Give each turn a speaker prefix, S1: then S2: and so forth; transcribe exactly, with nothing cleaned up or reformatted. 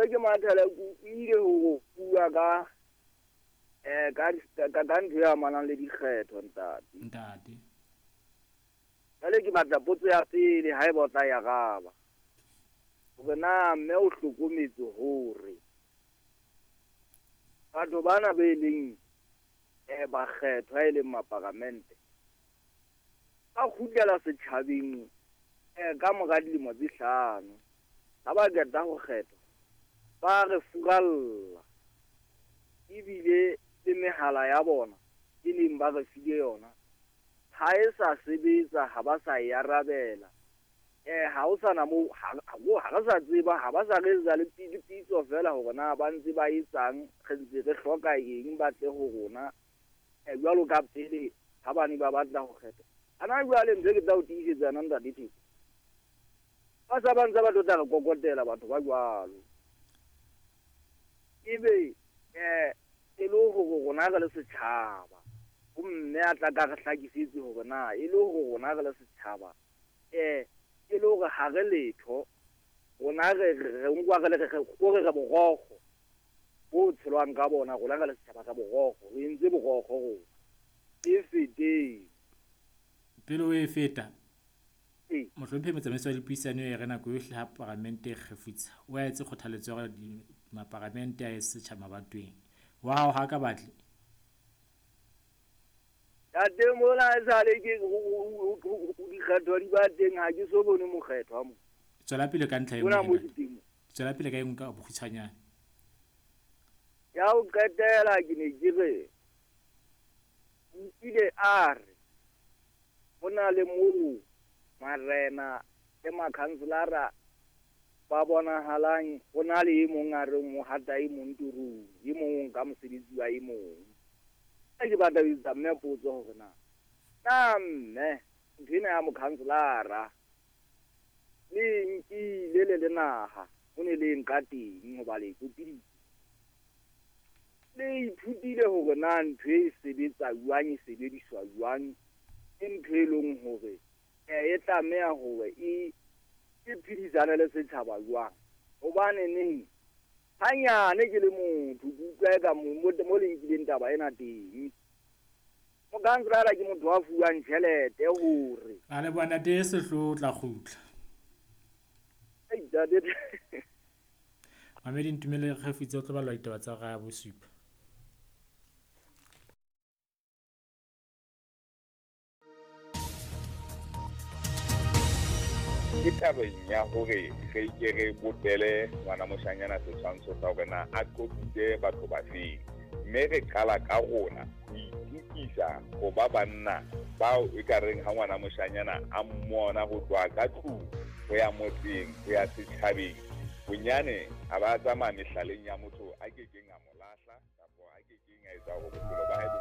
S1: Ke Mathela, ke utlwile ho bua ka eh ka ka ka ntho e amanang le dikgetho, ntate.
S2: Ntate.
S1: Jwale ke batla potso ya pele, haeba o tla e araba. Hore na mme o hlokometse hore batho bana be leng eh bakgethwa e leng maparamente ba kgutlela setjhabeng eh ka mora dilemo tse hlano, ha ba qeta ho kgethwa ba re furalla, ebile le mehala ya bona e leng ba re file yona ha e sa sebetsa, ha ba sa e arabela. Eh ha o sana moo, ha ha re sa tseba, ha ba sa re etsa le pitso feela hore na ba ntse ba etsang, re ntse re hloka eng, ba tle ho rona eh jwalo ka pele ha bane ba batla ho kgetha. Ana jwale ntse ke tla o tiisetsa yona, ntate Theko, ba sa ba ntse ba tlo tla re kokotela batho ba jwalo. Ebe eh e le hore rona re le setjhaba, ho mme a tla ka re hlakisetse hore na e le hore rona re le setjhaba eh e le hore ha re letho, rona re re nkwa re le re re re borokgo bo tshelwang ka bona, rona re le setjhaba ka borokgo, re entse borokgo rona e feteng.
S2: Pele o e feta,
S1: Ee.
S2: mohlomphehi motsamaisi wa dipuisano e re nako yohle ha paramente e kgefutsa, o a etse kgothaletso ya hore maparamente a ye setjhaba mabatoweng. Wa hao ha ka batle?
S1: Ntate, mona esale ke dikgetho di ba teng, ha ke so bone mokgethwa mo.
S2: Tswela pele ka ntlha e
S1: Mona
S2: nngwe,
S1: mo
S2: ntate.
S1: ke teng.
S2: Tswela pele ka e nngwe ka bokgutshwanyane.
S1: Ya ho qetela ke ne ke re o ile a re ho na le moo marena le makhanselara ba bonahalang ho na le e mong a reng o hata e mong torong, e mong o nka mosebetsi wa e mong. Ha ke batla ho etsa mme potso hore na na mme ntho ena ya mokhanselara le e nkile le le naha, ho ne le nka teng hoba le e kopiditse, le ithutile hore na ntho e sebetsa jwang, e sebediswa jwang, ke ntho e leng hore eh e tlameha hore e e phedisane le setjhaba jwang. Hobane neng hanyane ke le motho ke utlwa eka mo mo le nkileng taba ena teng, mokhanselara ke motho a fuwang tjhelete hore
S2: A leboha, ntate Sehloho, o tla kgutla.
S1: Ei, ntate.
S2: Mamedi Ntumelle Kgefutse o tlo balwa ditaba tsa hora ya bosupa.
S3: Ke tabeng ya hore re ke re bopele ngwana moshanyana setshwantsho sa hore na a qobitse batho ba feng, mme re qala ka rona ho itukisa ho ba banna bao e ka reng ha ngwana moshanyana a mmona ho tloha ka tlung ho ya motseng ho ya setjhabeng, bonyane a ba tsamaya mehlaleng ya motho a kekeng a mo lahla kapa a kekeng a etsa hore bophelo ba hae bo